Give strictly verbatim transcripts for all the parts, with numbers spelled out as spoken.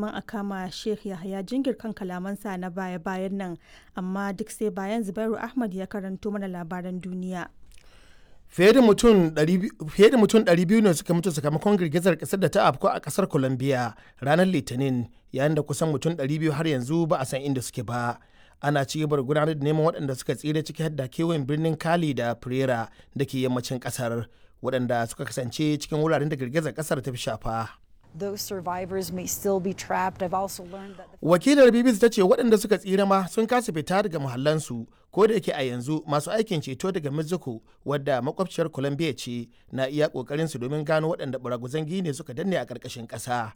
neman a kama Sheikh Yahaya Jingir kan kalamansa na baya-bayan nan, amma duk sai bayan Zubairu Ahmad ya karanto mana labaran duniya. Fiye da mutum ɗari biyu ne suka mutu sakamakon girgizar kasar da ta afku a kasar Colombia ranar Litinin, yayin da kusan mutum ɗari biyu har yanzu ba a san inda suke ba. Ana ci gaba da gudanar da neman waɗanda suka tsira, ciki har da kewayen birnin Cali da Pereira da ke yammacin kasar, waɗanda suka kasance cikin wuraren da girgizar kasar ta fi shafa. Those survivors may still be trapped. I've also learned that the Wakilar B B C ta ce waɗanda suka tsira ma sun kasa fita daga muhallansu, ko da yake a yanzu masu aikin ceto daga Mexico, wadda makwabciyar Colombia ce, na iya ƙoƙarin su domin gano waɗanda baraguzan gine suka danne a ƙarƙashin ƙasa.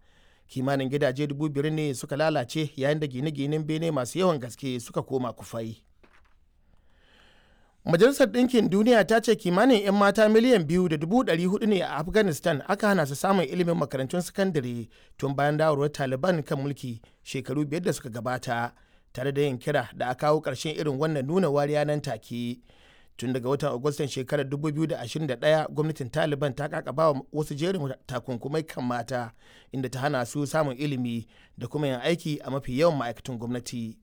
Kimanin gidaje dubu biyar ne suka lalace, yayin da gine-ginen bene masu yawan gaske suka koma kufai. Majalisar Ɗinkin Duniya ta ce kimanin 'yan mata miliyan biyu da dubu ɗari hudu ne a Afghanistan aka hana su samun ilimin makarantun sakandare tun bayan dawarwar Taliban kan mulki shekaru biyar da suka gabata, tare da yin kira da a kawo ƙarshen irin wannan nuna wariya nan take. Tun daga watan Agustan shekarar dubu biyu da ashirin da ɗaya, gwamnatin Taliban ta kakaba wa wasu jerin takunkumai kan mata, inda ta hana su samun ilimi da kuma yin aiki a mafi yawan ma'aikatan gwamnati.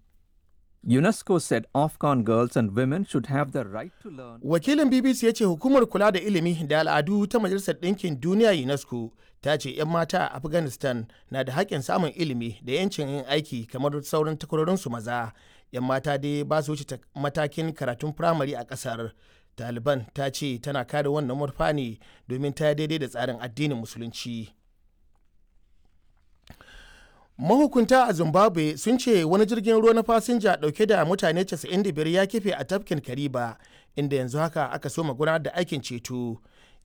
UNESCO said Afghan girls and women should have the right to learn. Wakilin B B C ya ce hukumar kula da ilimi da al'adu ta Majalisar Ɗinkin Duniya, UNESCO, ta ce 'yan mata a Afghanistan na da haƙƙin samun ilimi da 'yancin yin aiki kamar sauran takwarorinsu maza. 'Yan mata dai ba su wuce matakin karatun firamare a ƙasar. Taliban ta ce tana kare wannan manufa ne domin ta daidai da tsarin addinin Musulunci. Mahukunta a Zimbabwe sun ce wani jirgin ruwa na fasinja dauke da mutane casa'in da biyar ya kife a tafkin Kariba, inda yanzu haka aka soma gudanar da aikin ceto.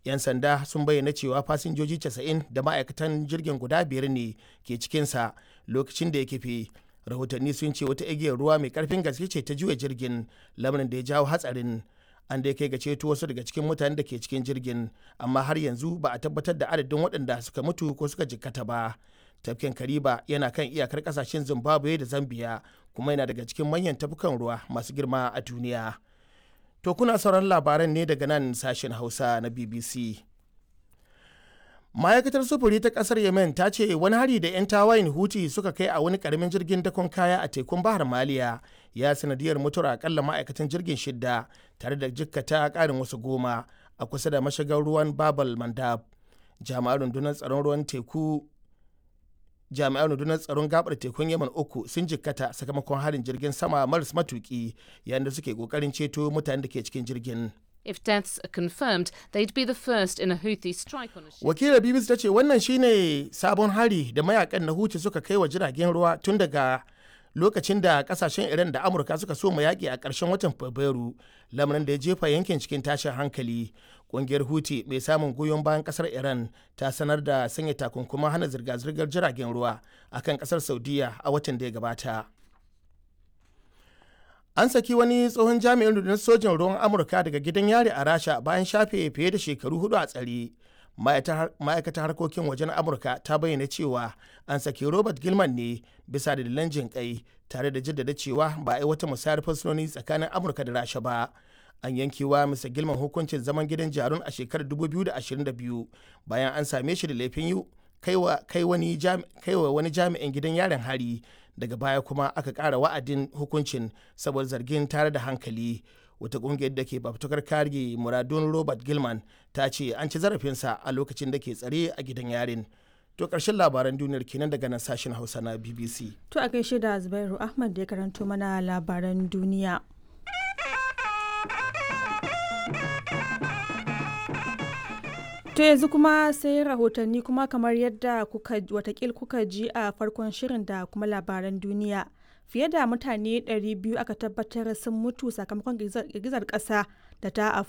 'Yan sanda sun bayyana cewa fasinjoji casa'in da ma'aikatan jirgin guda biyar ne ke cikinsa lokacin da ya kife. Rahotanni sun ce wata igiyar ruwa mai karfin gaske ce ta juya jirgin, lamarin da ya jawo hatsarin. An dai kai ga ceto wasu daga cikin mutanen da ke cikin jirgin, amma har yanzu ba a tabbatar da adadin waɗanda suka mutu ko suka jikkata ba. Tafkin Kariba yana kan iyakar kasashen Zimbabwe da Zambia, kuma yana daga cikin manyan tafkukan ruwa masu girma a duniya. To, kuna sauran labaran ne daga nan sashen Hausa na B B C. Ma'aikatar sufuri ta kasar Yemen ta ce wani hari da 'yan tawayin Huti suka kai a wani karamin jirgin dakon kaya a tekun Bahar Maliya ya sanadiyar mutuwar akalla ma'aikatan jirgin shidda, tare da jikkata karin wasu goma a kusa da mashigar ruwan Babal Mandab. Jami'an rundunar tsaron ruwan teku jami'an rundunar tsaron gabar tekun Yemen uku sun jikkata sakamakon harin jirgin sama maras matuki yayin da suke kokarin ceto mutanen da ke cikin jirgin. If deaths are confirmed, they'd be the first in a Houthi strike on a ship. Wakilar B B C ta ce wannan shine sabon hari da mayakan na Huti suka kai wa jiragen ruwa tun daga lokacin da kasashen Iran da Amurka suka so mu yaƙi a ƙarshen watan Fabrairu, lamarin da ya jefa yankin cikin tashin hankali. Ƙungiyar Huti mai samun goyon bayan ƙasar Iran ta sanar da sanya takunkuman hana zirga-zirgar jiragen ruwa akan ƙasar Saudiya a watan da ya gabata. An saki wani tsohon jami'in rundunar sojin ruwan Amurka daga gidan yari a Rasha bayan shafe fiye da shekaru hudu a tsare. Ma'aikatar harkokin wajen Amurka ta bayyana cewa an saki Robert Gilman ne bisa dalilan jin kai, tare da jaddada cewa ba a yi wata musayar fursunoni tsakanin Amurka da Rasha ba. An yankewa Mister Gilman hukuncin zaman gidan jarun a shekarar dubu biyu da ashirin da biyu bayan an same shi da laifin yi kai wa wani jami'in gidan yarin hari. Daga baya kuma aka ƙara wa'adin hukuncin saboda zargin tare da hankali. Wata ƙungiyar da ke fafutukar kare muradun Robert Gilman ta ce an ci zarafinsa a lokacin da ke tsare a gidan yarin. To, ƙarshen labaran duniyar kenan daga nan sashen Hausa na B B C. To, a gaishe da Zubairu Ahmad da ya karanto mana labaran duniya. To, yanzu kuma sai rahotanni. Kuma kamar yadda kuka watakil kuka ji a farkon shirin da kuma labaran duniya, fiye da mutane ɗari biyu aka tabbatar sun mutu sakamakon girgizar ƙasa da ta afku.